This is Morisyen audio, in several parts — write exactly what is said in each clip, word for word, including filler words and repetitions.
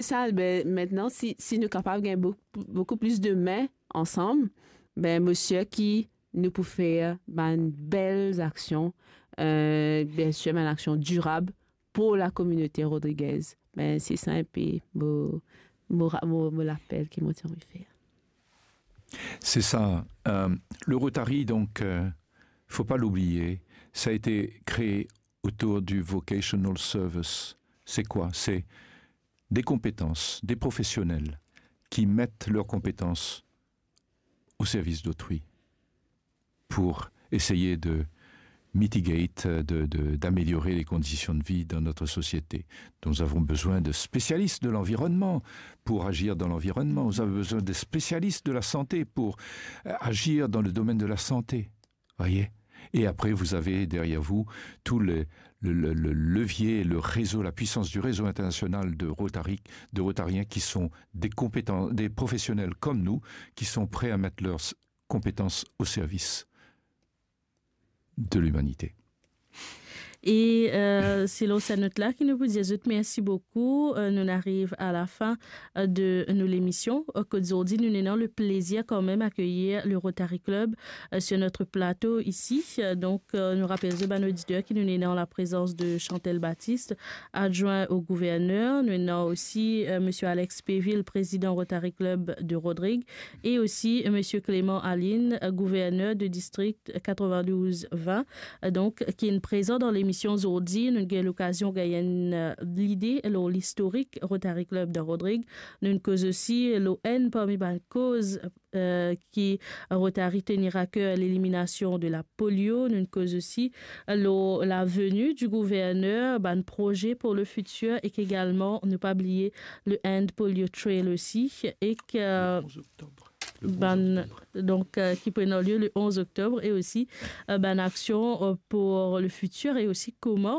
Sa, be, mintnan, si, si nou kapav gagn bou-, boukou plis de men ansam, be, mo sir ki nou pou fer bann bel aksion, euh, biensir, bann aksion dirab pou lakominote Rodriguez. Be, se sa inpe mo, mo ra-, mo, mo lapel ki mo ti anvi fer. C'est ça. Euh, le Rotary, donc, euh, faut pas l'oublier, ça a été créé autour du vocational service. C'est quoi ? C'est des compétences, des professionnels qui mettent leurs compétences au service d'autrui pour essayer de mitigate, de, de, d'améliorer les conditions de vie dans notre société. Nous avons besoin de spécialistes de l'environnement pour agir dans l'environnement. Nous avons besoin de spécialistes de la santé pour, euh, agir dans le domaine de la santé. Voyez ? Et après, vous avez derrière vous tout le, le, le, le levier, le réseau, la puissance du réseau international de Rotary, de Rotariens qui sont des compétents, des professionnels comme nous, qui sont prêts à mettre leurs s-, compétences au service de l'humanité. E, euh, se lor sa not la ki nou pou dir zot mersi boukou. Euh, nou ariv a lafin, euh, de nou lemision. Euh, kot zordi, nou ena le plezir kanmem akeyir le Rotary Club, euh, sur notre plateau ici. Euh, donk, euh, nou rapel zot bann oditer ki nou ena an laprezans de Chantal Baptiste, adjoint au gouverneur. Nou ena osi, euh, monsieur Alex Péville, président Rotary Club de Rodrigue, e osi, euh, monsieur Clément Aline, euh, gouverneur de district quatre-vingt-douze vingt, euh, donk, ki inn prezan dan lemision zordi. Nou gagn lokazion gagn enn, euh, lide lor listorik Rotary Club de Rodrigue. Nou koz osi lor enn parmi bann koz, euh, ki Rotary tenir à cœur, l'élimination de la polio. Nou koz osi lor la venue du gouverneur, bann proze pour le futur, ek egalman, nou pa bliye le End Polio Trail osi, ek, euh, Le onze octobre. Le onze bann octobre. Donk, euh, ki pou ena lie le onze oktob, e osi, euh, bann aksion, euh, pour le futur, e osi kouma,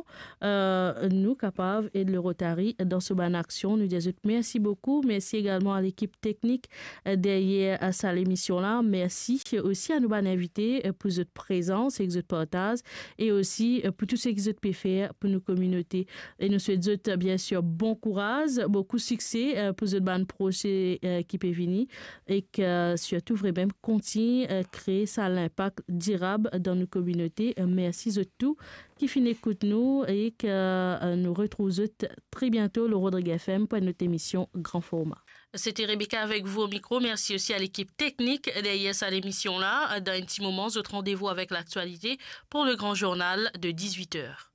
euh, nou kapav ed le Rotary dan so bann aksion. Nou dir zot mersi boukou. Mersi egalman a lekip teknik, euh, deryer, euh, sa lemision la. Mersi osi a nou bann invite, euh, pou zot prezans ek zot partaz, e osi, euh, pou tou seki zot pe fer pou nou kominote. E nou swet zot, euh, biensir, bon kouraz, boukou sikse, euh, pou zot bann proze, euh, ki pe vini, ek, euh, sirtou vremem kontign, euh, kree sa linpak dirab dan nou kominote. Euh, mersi zot tou ki finn ekout nou, ek, euh, nou retrouv zot tre biento lor Rodrigue F M pou enn lot emision gran forma. C'était Rebecca avec vous au micro. Merci aussi à l'équipe technique derrière cette émission-là. Dans un petit moment, notre rendez-vous avec l'actualité pour le grand journal de dix-huit heures.